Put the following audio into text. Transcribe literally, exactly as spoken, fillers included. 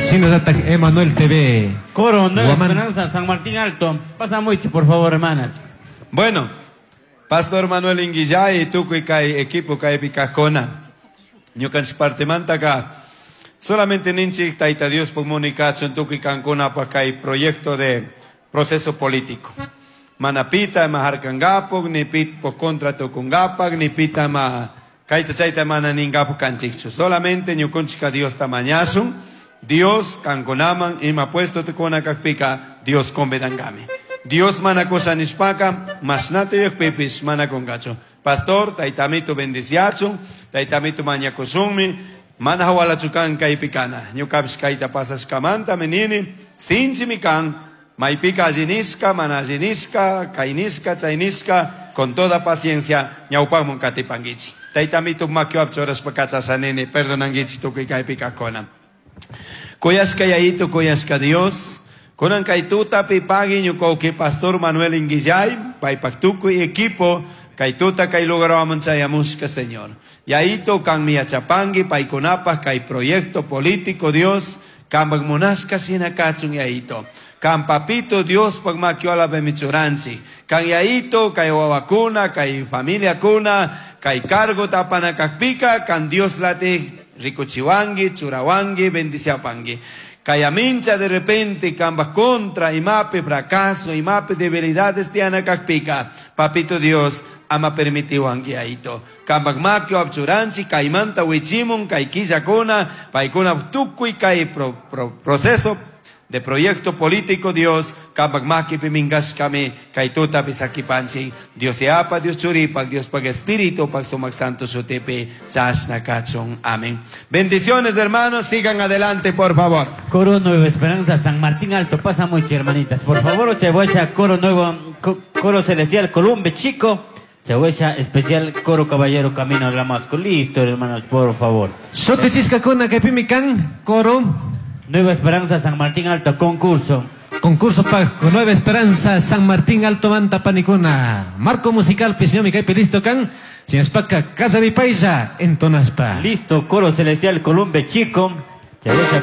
Shinallatak Emanuel T V. Coro Nueva Guamán. Esperanza, San Martín Alto. Pasa mucho, por favor, hermanas. Bueno, Pastor Manuel Inguillay, tukuy kay equipo kaypi kajkuna. Ñukanchik partimantaka solamente ninchik Tayta Dios kachun tukuy kankunapaq kay proyecto de proceso político. Mana pita ma harkangapuk, ni pita contra tukungapak, ni pita ma kayta chayta mana ningapuk kanchikchu. Solamente ñukunchika Diosta mañasun, Dios kankunaman ima puesto tukuna kakpika, Dios convedangami. Dios mana cosa nishpaka, mashnata yukpipis mana kungachu. Pastor, taytamito bendiciachun, taytamito mañakusunmi, mana hawalachu kan kaypi kana. Ñukapish kayta pasashkamanta menini, sinchimi kan, maypika allinishka, mana allinishka, kaynishka, chaynishka, con toda paciencia, ñawpakmun katipankichik. Taytamito makiwap churashpa kachashanini, perdonankichik tukuy kaypi kajkuna. Kuyashka Yayito, kuyashka Dios, kunan kay tutapi pagui ñuka Pastor Manuel Inguillay, paypak tukuy equipo, kay tuta kay lugarwaman chayamushka, Señor. Yayito kanmi yachapanki, paykunapaj kay proyecto político, Dios, kampak munashka shina kachun, Yayito. Kan papito Dios pak makiwalapimi churanchik. Kan Yayito, kay wawakuna, kay familiakuna, kay cargo apana kakpika, kan Dios lati rikuchiwanki, churawanki, bendiciapanki. Kaya mincha de repente kamba contra, imapi fracaso, imapi debilidades tiana kakpika. Papito Dios, ama permitiwanki, Yayito. Kambak makio apchuranchi, kaymanta wichimun, kay killakuna, paykuna tukuy kay pro, pro, proceso de proyecto político, Dios, kampak makipi minkashkami, kay tutapi sakipanchik, Dios Yapa, Dios Churipak, Dios pak Espíritu, pak Sumak Santo shutipi, chashna kachun. Amén. Bendiciones, hermanos, sigan adelante, por favor. Coro Nueva Esperanza, San Martín Alto. Pasa mucho, hermanitas. Por favor, Chahuacha, Coro Nuevo, Coro Celestial, Columbe Chico. Chahuacha Especial, Coro Caballero, Camino al Damasco. Listo, hermanos, por favor. Shutichishkakuna kaypimi kan, coro Nueva Esperanza, San Martín Alto, concurso. Concurso pa Nueva Esperanza San Martín Alto manta panikuna. Marco musical ñami kaypi listo kan. Shinashpaka kallaripaylla entonashpa. Listo, Coro Celestial, Columbe Chico. Chahuacha